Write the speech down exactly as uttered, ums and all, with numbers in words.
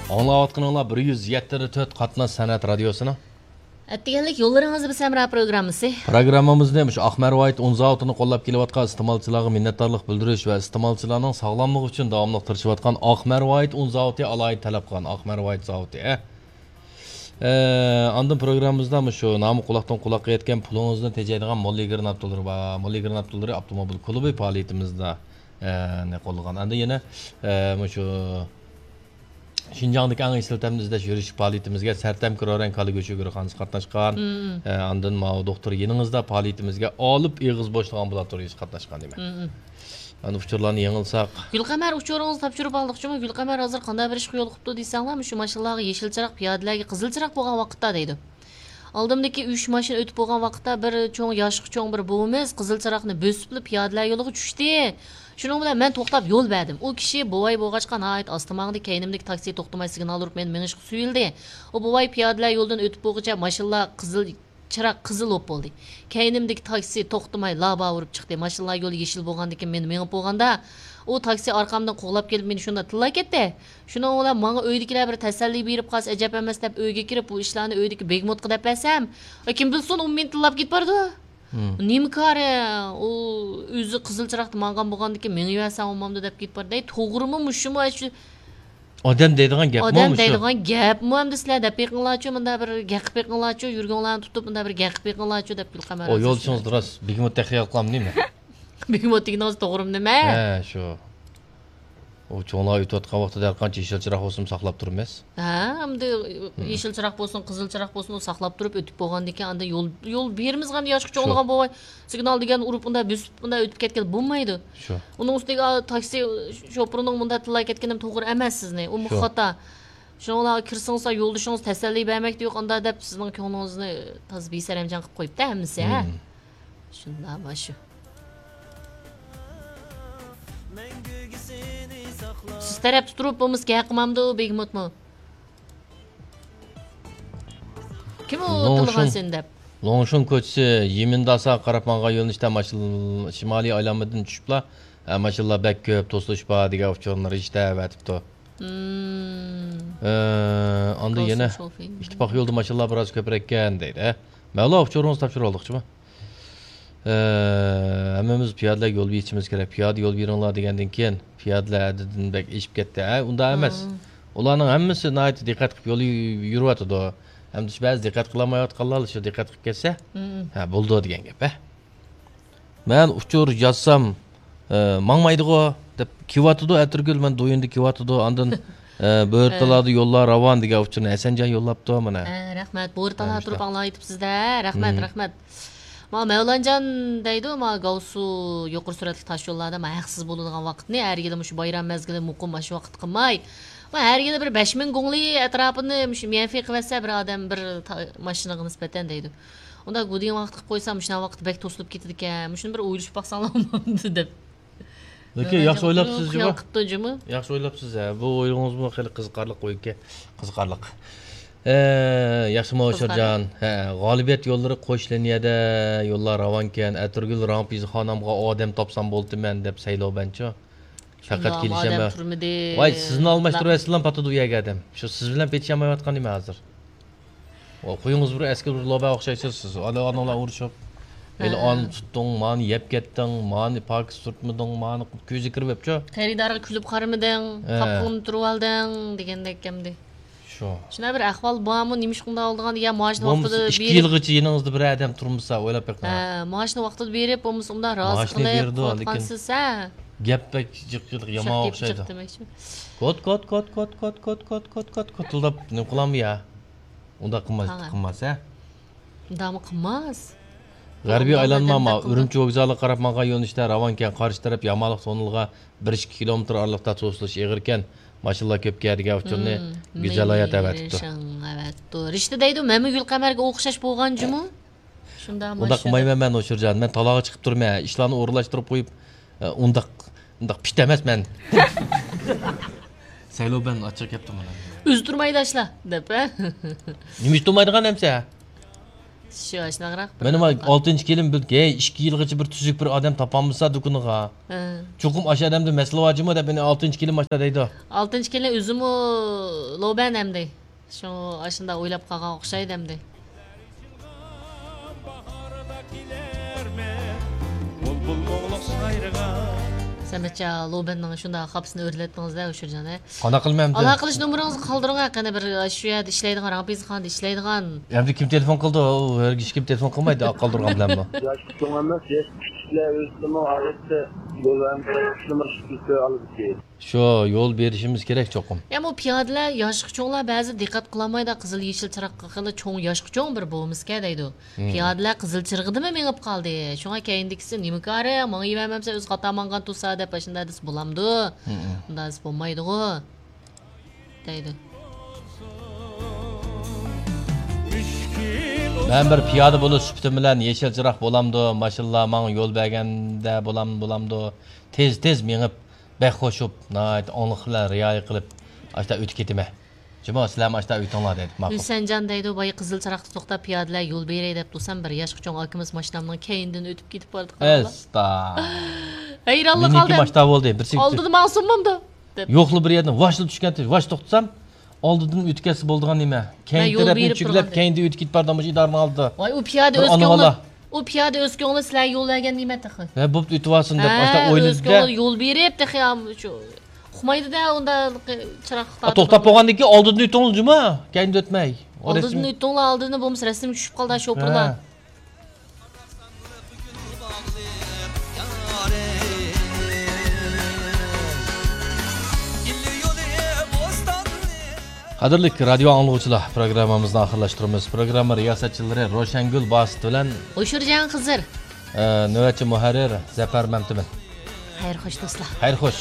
ئاڭلاۋاتقىنىڭلار بىر يۈز يەتتە نۇقتا تۆت قاتناش سەنئەت رادىيوسىنىڭ ئەتىگەنلىك يوللىرىڭىزدا بىز ھەمراھ پروگراممىسى. پروگراممىمىزنى مۇشۇ ئاق مەرۋايىت ئۇن زاۋۇتىنى قوللاپ كېلىۋاتقان ئىستېمالچىلارغا مىننەتدارلىق بىلدۈرۈش ۋە ئىستېمالچىلارنىڭ ساغلاملىقى ئۈچۈن داۋاملىق تىرىشىۋاتقان ئاق مەرۋايىت ئۇن زاۋۇتى ئالاھىدە تەلەپ قىلغان ئاق مەرۋايىت زاۋۇتى، ھە. ئە، ئاندىن پروگراممىمىزدا مۇشۇ نامى قۇلاقتىن قۇلاققا يەتكەن پۇلىڭىزنى تېجەيدىغان موللىگىر ناپتوللىرى بار. موللىگىر ناپتوللىرى ئاپتوموبىل كۇلۇبى پائالىيىتىمىزدا، ئە، نە قوللىغان. ئاندىن يەنە، ئە، مۇشۇ شىنجاڭدىكى ئەڭ ئېسىل تەمنى ئىزدەش يۈرۈش پائالىيىتىمىزگە سەرتەم كىرورەن كالا گۆشى گۆرخانىسى قاتناشقان. مم. ئە، ئاندىن ماۋۇ دوختۇر يېنىڭىزدا پائالىيىتىمىزگە ئالىپ ئېغىز بوشلۇق ئامبۇلاتورىيىسى قاتناشقان دېمەك. مم. ئەنە ئۇچۇرلارنى يېڭىلساق. گۈلقەمەر، ئۇچۇرىڭىزنى تاپشۇرۇپ ئالدۇقچىمۇ؟ گۈلقەمەر ھازىر قانداق بىر ئىشقا يولۇقۇپتۇ دېسەڭلار، مۇشۇ ماشىنىلارغا يېشىل چىراغ، پىيادىلەرگە قىزىل چىراغ بولغان ۋاقىتتا دەيدۇ. ئالدىمدىكى ئۈچ ماشىنا ئۆتۈپ بولغان ۋاقىتتا بىر چوڭ، ياشقا چوڭ بىر بوۋىمىز قىزىل چىراغنى بۆسۈپلا پىيادىلەر يولىغا چۈشتى. شۇنىڭ بىلەن مەن توختاپ يول بەردىم. ئۇ كىشى بوۋاي بولغاچقا ناھايىتى ئاستا ماڭدى. كەينىمدىكى تاكسى توختىماي سىگنال ئۇرۇپ مېنى مېڭىشقا سۆيۈلدى. ئۇ بوۋاي پىيادىلەر يولىدىن ئۆتۈپ بولغۇچە ماشىنىلار قىزىل چىراغ قىزىل بولۇپ بولدى. كەينىمدىكى تاكسى توختىماي لابا ئۇرۇپ چىقتى. ماشىنىلار يولى يېشىل بولغاندىكىن مەن مېڭىپ بولغاندا، ئۇ تاكسى ئارقامدىن قوغلاپ كېلىپ مېنى شۇنداق تىللاپ كەتتى. شۇنىڭ بىلەن ماڭا ئۆيدىكىلەر بىر تەسەللى بېرىپ قالسا ئەجەب ئەمەس دەپ ئۆيگە كىرىپ بۇ ئىشلارنى ئۆيدىكى بېگموتقا دەپ بەرسەم، ئە، كىم بىلسۇن ئۇ مېنى تىللاپ كېتىپ بارىدۇ. مم. نېمە كارى؟ ئۇ ئۆزى قىزىل چىراغدا ماڭغان بولغاندىكىن مېڭىۋەرسەڭ بولمامدۇ دەپ كېتىپ بارىدۇ. ئەي، توغرىمۇ مۇشۇمۇ؟ ئەي، شۇ ئادەم دەيدىغان گەپمۇ ئادەم مۇشۇ؟ دەيدىغان گەپمۇ ئەمدى سىلەر دەپ بېقىڭلارچۇ، مۇنداق بىر گەقىپ بېقىڭلارچۇ، يۈرىكىڭلارنى تۇتۇپ مۇنداق بىر گەقىپ بېقىڭلارچۇ دەپ گۈلقەمەر ئۇ ھازىر يولدىشىڭىزدا سىلەر. راست بېگموت تەخلىيە قىلامدۇ نېمە؟ بېگموت دېگىنىڭىز توغرىمۇ نېمە؟ ھە، شۇ. ئۇ چوڭلار ئۆتۈۋاتقان ۋاقتىدا ھەر قانچە يېشىل چىراغ بولسىمۇ ساقلاپ تۇرىمىز. ھە، ئەمدى مم. يېشىل چىراغ بولسۇن، قىزىل چىراغ بولسۇن، ئۇ ساقلاپ تۇرۇپ ئۆتۈپ بولغاندىكىن ئاندىن يول، يول بېرىمىزغۇ ئەمدى ياشقا شۇ. چوڭلىغان بوۋاي سىگنال دېگەن ئۇرۇپ ئۇنداق بۆسۈپ ئۇنداق ئۆتۈپ كەتكىلى بولمايدۇ. شۇ. ئۇنىڭ ئۈستىگە، ئا، تاكسى شوپۇرىنىڭ مۇنداق تىللاپ كەتكىنىمۇ توغرا ئەمەس سىزنى. ئۇمۇ شۇ. خاتا. شۇنىڭ بىلەن كىرسىڭىز يولدىشىڭىز تەسەللى بەرمەكتە يوق ئاندا دەپ سىزنىڭ كۆڭلىڭىزنى تازا بىسەرەمجان قىلىپ قويۇپتۇ ھەممىسى، ھە؟ مم. شۇنداق مانا شۇ. سىز تەرەپتە تۇرۇپ بولمىسا گەپ قىلمامدۇ بېگموتمۇ؟ كىم ئۇ لوڭشۇن، تىللىغان سېنى دەپ؟ لوڭشۇن كوچىسى يىمىنداسا قاراپ ماڭغان يۆنىلىشتە ماشىنا شىمالىي ئايلانمىدىن چۈشۈپلا، ھە، ماشىنىلار بەك كۆپ، توسۇلۇش بار دېگەن ئۇچۇرنى رىشتە ئەۋەتىپتۇ. مم. ئە، ئاندىن يەنە ئىتتىپاق يولدا ماشىنىلار بىراز كۆپرەككەن دەيدۇ. ھە، مەۋلا ئۇچۇرىڭىزنى تاپشۇرۇۋالدۇقچىما؟ ئە، ھەممىمىز پىيادىلەرگە يول بېرىشىمىز كېرەك. پىيادە يول بېرىڭلار دېگەندىن كېيىن، پىيادىلەر ھەددىدىن بەك ئېشىپ كەتتى. ھە، ئۇنداق ئەمەس. مم. ئۇلارنىڭ ھەممىسى ناھايىتى دىققەت قىلىپ يول يۈ-، يۈرۈۋاتىدۇ. ئەمدى شۇ بەزى دىققەت قىلالمايۋاتقانلار شۇ دىققەت قىلىپ كەتسە، مم. ھە، بولىدۇ دېگەن گەپ، ھە. مەن ئۇچۇر يازسام، ئە، ماڭمايدىغۇ دەپ كېلىۋاتىدۇ ئەتىرگۈل، مەن دويۇندا كېلىۋاتىدۇ، ئاندىن، ئە، بۆرتالادا يوللار راۋان دېگەن ئۇچۇرنى ھەسەنجان يوللاپتۇ مانا. ھە، رەھمەت. بۆرىتالا تۇرۇپ ئاڭلاۋېتىپسىز-دە. رەھمەت، مم. رەھمەت. ما مەۋلانجان دەيدۇ، ما گاۋسۇ يۇقىرى سۈرئەتلىك تاش يوللاردا ما ھەقسىز بولىدىغان ۋاقىتنى ھەر يىلى مۇشۇ بايرام مەزگىلى مۇقىم ماشۇ ۋاقىتتا قىلماي، ما ھەر يىلى بىر بەش مىڭ گۇڭلى ئەتراپىنى مۇشۇ ميەنفېي قىلىۋەتسە بىر ئادەم بىر تا-، ماشىنىغا نىسبەتەن دەيدۇ. ئۇنداق گۇدىڭ ۋاقىت قىلىپ قويسا، مۇشۇنداق ۋاقىتتا بەك توسۇلۇپ كېتىدىكەن. مۇشۇنى بىر ئويلىشىپ باقساڭلار بولمامدۇ دەپ. لېكىن ياخشى ئويلاپسىز جۇمۇ. خىيال قىپتۇ جۇمۇ. ياخشى ئويلاپسىز، ھە. بۇ ئويىڭىزمۇ خېلى قىزىقارلىق ئويكەن. قىزىقارلىق. ئە، ياخشىمۇ قىزىقارلىق. شىرجان؟ ھە، غالىبىيەت يوللىرى قوش لىنىيەدە يوللار راۋانكەن. ئەتىرگۈل رامپىزخانامغا ئادەم تاپسام بولدىمەن دەپ سەيلو بەنچۇ. پەقەت شۇنداق، كېلىشەلمەي. ئادەم تۇرمىدى. ۋاي، سىزنى ئالماشتۇرۇۋەتسىلەم پاتىدۇ ئۇ يەرگە ئادەم. شۇ سىز بىلەن پېتىشالمايۋاتقان نېمە ھازىر؟ ۋاي، قويۇڭىز بىر ئەسكى بىر لوبا ئوخشايسىز سىز. ئانا، ئانىلار ئۇرۇشۇپ، ھېلى ھە. ئانى تۇتتۇڭ، مانى يەپ كەتتىڭ، مانى پاكىز سۈرتمىدىڭ، مانى كۆزى كىرىپ ئەپچۇ. خېرىدارغا كۈلۈپ قارىمىدىڭ، ھە. قاپىقىڭنى تۇرۇۋالدىڭ دېگەندەك ئەمدى. شۇ. شۇنداق بىر ئەھۋال بارمۇ؟ نېمىشقا ئۇنداق ئالىدىغان؟ يا مائاشنى ۋاقتىدا بولمىسا ئىككى بېرىپ يىلغىچە يېنىڭىزدا بىر ئادەم تۇرمىسا ئويلاپ بېقىڭ. ھە، مائاشنى ۋاقتىدا بېرىپ، بولمىسا ئۇنداق رازى مائاشنى قىلىپ بېرىدۇ، لېكىن قويۇۋاتقانسىز، ھە. گەپ بەك جىق جىق يامان ئوخشايدۇ. كوت، كوت، كوت، كوت، كوت، كوت، كوت، كوت، كوت، كوت، كوتۇلداپ نېمە قىلامدۇ يا؟ ئۇنداق قىلماس، قاڭا. قىلماس، ھە؟ ئۇنداقمۇ قىلماس. غەربىي ئۇنداق ئايلانما، ئادەم ما، تېخىمۇ. ئۈرۈمچى ۋوگزالىغا قاراپ ماڭغان يۆنىلىشتە راۋانكەن، قارشى تەرەپ يامانلىق توننېلىغا بىر ئىككى كىلومېتىر ئارىلىقتا توسۇلۇش ئېغىركەن، ماشىنىلار كۆپكەن دېگەن ئۇچۇرنى مم، گۈزەل ھايات مېنى ئەۋەتىپتۇ. شاڭ ئەۋەتىپتۇ. رىشتە دەيدۇ، مەنمۇ گۈلقەمەرگە ئوخشاش بولغان جۇمۇ. شۇنداق ئۇنداق ماشىنا. قىلمايمەن مەن، ئوشۇرجان. مەن تالاغا چىقىپ تۇرىمەن. ئىشلارنى ئورۇنلاشتۇرۇپ قويۇپ، ئە، ئۇنداق، ئۇنداق پىت ئەمەس مەن. سەيلو بەن ئاچچىق كەپتۇ مانا. ئۆزى تۇرمايدۇ ئاشلا، دەپ، ھە؟ نېمە ئۈچ تۇرمايدىغان ئەمسە؟ شۇ ئاشۇنداقراق بىر مېنىڭ ئالتىنچى كېلىن بىر، ھەي، ئىككى يىلغىچە بىر تۈزۈك بىر ئادەم تاپالمىسا دۇكىنىغا، ھە، چوقۇم ئاشۇ ئادەمدە مەسىلە بار جۇمۇ دەپ مېنى ئالتىنچى كېلىن ئاشۇنداق دەيدۇ. ئالتىنچى كېلىن ئۆزىمۇ لوبەن ئەمدى. شۇ ئاشۇنداق ئويلاپ قالغان ئوخشايدۇ ئەمدى. سەمەتجان، لوبەننىڭ شۇنداق خاپىسىنى ئۆرلەتتىڭىز-دە، ئۇشۇرجان، ھە؟ قانداق قىلىمەن ئەمدى؟ ئالاقە قىلىش نومۇرىڭىزنى قالدۇرۇڭ، ھە، قېنى بىر شۇ يەردە ئىشلەيدىغان، رامپىزخانىدا ئىشلەيدىغان. ئەمدى كىم تېلېفون قىلدى؟ ئۇ ھەرگىز ھېچكىم تېلېفون قىلمايدۇ، قالدۇرغان بىلەنمۇ. ياش چوڭ ئەمەس، ياش كىچىكلەر ئۆزىمۇ ئادەتتە يول ھەم تەكشۈرۈش ئالىدىكەن. شۇ يول بېرىشىمىز كېرەك چوقۇم. يا، بۇ پىيادىلەر، ياشقا چوڭلار بەزى دىققەت قىلالمايدۇ، قىزىل يېشىل چىراغقا خېلى چوڭ، ياشقا چوڭ بىر بولمىسىكەن دەيدۇ. مم. پىيادىلەر قىزىل چىرىغىدىمۇ مېڭىپ قالدى. شۇڭا كەينىدىكىسى نېمە كارى، ماڭىۋەرمەمسەن ئۆزى قاتار ماڭغان تۇرسا دەپ ئاشۇنداق دېسە بولامدۇ؟ مم. ئۇنداق دېسە بولمايدىغۇ. دەيدۇ. مەن بىر پىيادە بولۇش سۈپىتىم بىلەن يېشىل چىراغ بولامدۇ، ماشىنىلار ماڭا يول بەرگەندە بولام-، بولامدۇ، تېز-تېز مېڭىپ، بەك خوشۇپ، ناھايىتى ئاڭلىق بىلەن رىئايە قىلىپ، ئاشتا ئۆتۈپ كېتىمەن. جۇمۇ، سىلەرمۇ ئاشتا ئۆتۈڭلار دەيدۇ. ماقۇل. ھۈسەنجان دەيدۇ، بايا قىزىل چىراغدا توختاپ، پىيادىلەر يول بېرەي دەپ تۇرسام، بىر ياشقا چوڭ ئاكىمىز ماشىنامنىڭ كەينىدىن ئۆتۈپ كېتىپ بارىدۇ، قاراڭلار. ئەستا. ھەيرانلا مېنىڭكى قالدىم. ماشتا بولدى، بىرسى ئالدىدا ماڭسۇنمامدۇ؟ دەپ. يوقلا بىر يەردىن ۋاشلا چۈشكەن، ۋاش توختىسام، ئالدىدىن ئۆتۈپ كەتسە بولىدىغان نېمە؟ كەينى تەرەپنى چۈكلەپ، كەينىدىن ئۆتۈپ كېتىپ بارىدۇ، مۇشۇ ئىدارىنىڭ ئالدىدا. ۋاي، ئۇ پىيادە ئۆز كۆڭلى، ئۇ پىيادە ئۆز كۆڭلى سىلەرگە يول بەرگەن نېمە تېخى؟ ھە، بوپتۇ، ئۆتۈۋالسۇن دەپ، ئاشتا ئۆز ئويلىدى-دە. كۆڭلى يول بېرىپ، تېخى ئۇقمايدۇ-دە، ئۇنداق چىراغ توختاپ بولغاندىن كېيىن ئالدىدىن ئۆتۈڭلار جۇمۇ، كەينىدىن ئۆتمەي. ئالدىدىن ئۆتۈڭلار، ئالدىدىن بولمىسا رەسىمگە چۈشۈپ قالىدۇ شوپۇرلار. ھە. قەدىرلىك رادىيو ئاڭلىغۇچىلار، پروگراممىمىزنى ئاخىرلاشتۇرىمىز. پروگرامما رىياسەتچىلىرى روشەنگۈل باسىت بىلەن ئوشۇرجان خىزىر. ئە، نۆۋەتچى مۇھەررىر زەپەر مەمتىمىن. خەير خوش، دوستلار. خەير خوش.